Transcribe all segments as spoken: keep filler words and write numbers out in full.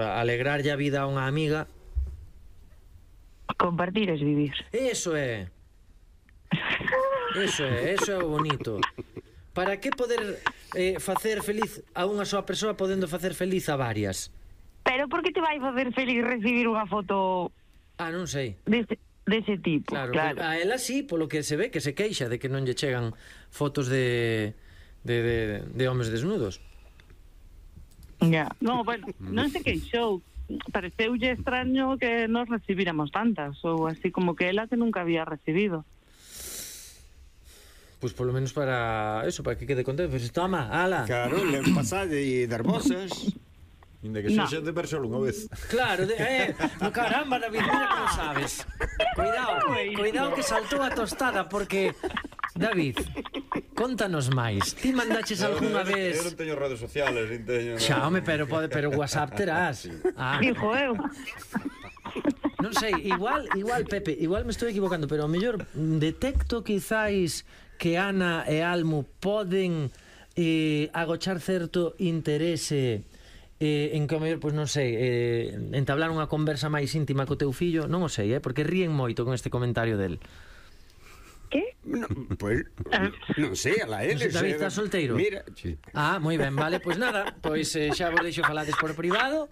Alegrarlle a vida a unha amiga. Compartir es vivir. Eso é. Eso é, eso é o bonito. Para que poder eh, facer feliz a unha soa persoa podendo facer feliz a varias? Pero por que te vai facer feliz recibir unha foto... Ah, non sei. Dese, dese tipo, Claro, claro. a ela sí, polo que se ve, que se queixa de que non lle chegan fotos de, de, de, de homes desnudos. Ya. No, bueno, non se queixou. Pareceulle extraño que nos recibíramos tantas, ou así como que ela que nunca había recibido. Pois polo menos para eso, para que quede contento. Pois toma, ala. Claro, le pasade e dar vosas. Inda que sexa de persona unha vez. Claro, de, eh, no caramba, David, mira que non sabes. Cuidado, cuidado que saltou a tostada, porque... David, contanos máis. Ti mandaches algunha vez... Eu non teño redes sociales, nin teño... Xa, home, pero, pode, pero WhatsApp terás. Ah, Dijo eu. non sei, igual, igual, Pepe, igual me estou equivocando, pero ao mellor detecto quizáis que Ana e Almo poden eh, agochar certo interese eh, en que ao mellor, pois non sei, eh, entablar unha conversa máis íntima co teu fillo, non o sei, eh, porque ríen moito con este comentario del. Que? No, pues, non sei, ala eles. David, estás solteiro? Mira, sí. Ah, moi ben, vale, pois nada, pois eh, xa vos deixo falades por privado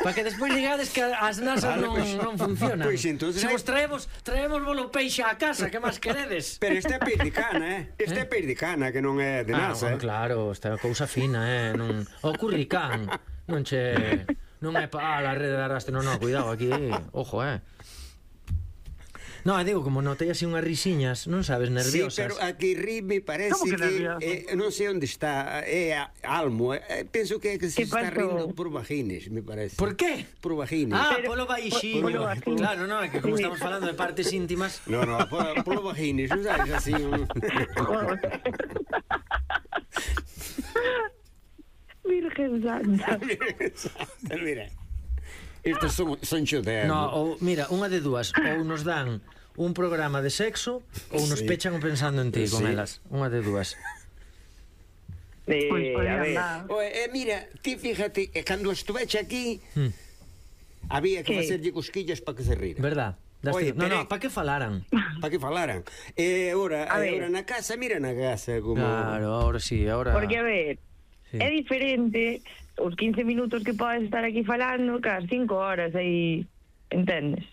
para que despois digades que as nasas Vale, non, pues, non funcionan. Pois entonces Se hai- vos traemos, traemos bolo peixe á casa, que máis queredes? Pero este é perdicana, eh? Este é perdicana, que non é de Ah, nasa, bueno, eh? claro, esta é cousa fina, eh, non... O curricán, non che... Non é pa ah, la rede de arrastre, non, non, cuidado, aquí, ojo, eh. No, digo, como notei así unhas risiñas, non sabes, Sí, nerviosas. pero aquí ri me parece Como que que, nervioso? eh, non sei onde está, é a- Almo, eh, penso que, que se Que está pasou? rindo por vagines, me parece. Por qué? Por vagines. Ah, Pero- polo baixinho. polo baixinho. Claro, no, é que como estamos falando de partes íntimas... No, no, por, polo vagines, non sabes, así un... Virgen Santa. Mira, estos son, son choteos. No, ou, mira, unha de dúas, ou nos dan un programa de sexo ou nos Sí. pechan pensando en ti con Sí. elas. Unha de dúas. Eh, Pois a podía ver. andar. Oe, eh, mira, ti fíjate, eh, cando estuveche aquí, Hmm. había que Que? facerlle cosquillas para que se rira. Verdad? Das Oye, ti- no, pero- no, para que falaran? Para que falaran. E agora, A ver. agora na casa, mira na casa como... Claro, ahora sí, ahora... Porque, a ver, Sí. é diferente os quince minutos que podes estar aquí falando que as cinco horas aí, entendes?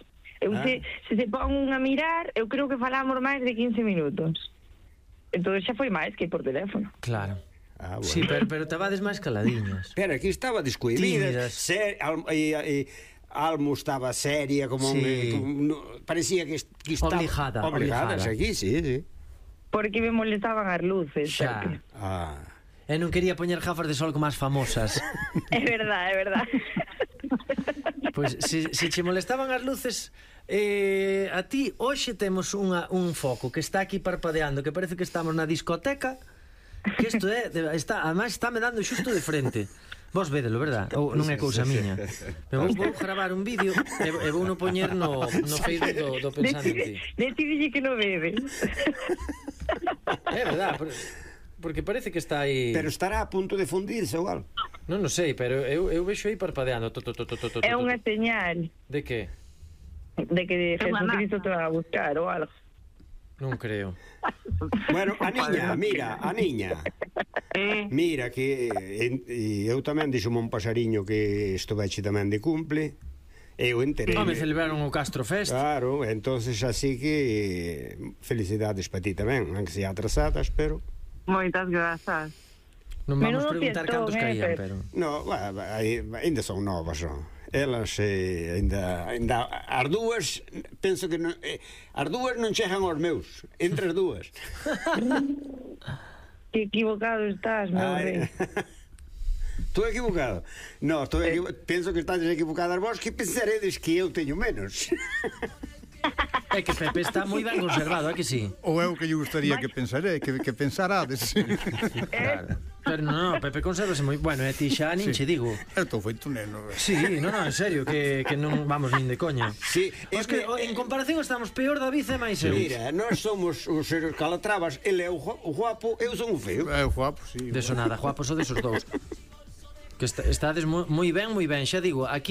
Eu Ah. se, se se pon a mirar, eu creo que falamos máis de quince minutos. Entón xa foi máis que por teléfono. Claro. Ah, bueno. Sí, pero, pero tabades máis caladiñas. Pero aquí estaba descuidida, Tímidas. ser, al, e, e, Almo estaba seria, como, Sí. un, como no, parecía que, que estaba Obligada, obligadas obligada. aquí, sí, sí. Porque me molestaban as luces. Xa. Pepe. Ah. E non quería poñer gafas de sol como as famosas. É verdad, é verdad. Pois se, se che molestaban as luces, eh, a ti hoxe temos unha, un foco que está aquí parpadeando, que parece que estamos na discoteca, que isto é, de- está, además está me dando xusto de frente. Vos vedelo, verdad? Ou non é cousa miña. Pero vou, vou gravar un vídeo e, e vou no poñer no, no Facebook do, do Pensando en Ti. Decidille que non bebe. É verdad, por, porque parece que está aí... Pero estará a punto de fundirse ou algo. Non o sei, pero eu, eu vexo aí parpadeando. To, to, to, to, to, to, É to. unha señal De que? de que É unha Jesucristo te va a buscar ou algo. Non creo. Bueno, a niña, mira, a niña. Eh, Mira que en, e eu tamén dixome un pasariño que estuveche tamén de cumple. Eu enterei. Home, celebraron o Castro Fest. Claro, entonces así que eh, felicidades para ti tamén, aunque sea atrasadas, pero moitas grazas. Non vamos Menudo preguntar fiestón, cantos eh, caían, Pep. pero... no, va, va, aí- ainda son novas, non? Elas eh, ainda, ainda as dúas penso que non, eh, as dúas non chegan aos meus, entre as dúas. Que equivocado estás, meu rei. Estou equivocado. No, estou equivo... penso que estás equivocadas vos, que pensaredes que eu teño menos. É que Pepe está moi ben conservado, é que sí? Ou é o que lle gustaría que pensaré, que, que pensarades. Claro. Pero non, no, Pepe conservase moi... Bueno, e ti xa nin che digo. Eu estou feito neno. Sí, non, non, en serio, que, que non vamos nin de coña. Sí, Pois que o- en comparación estamos peor David e máis eu. Mira, nós somos os calatrabas, ele é o gua- o guapo, eu son o feo. É o guapo, sí. De sonada, guapos o desos dous. Que está, estades moi, moi ben, moi ben, xa digo, aquí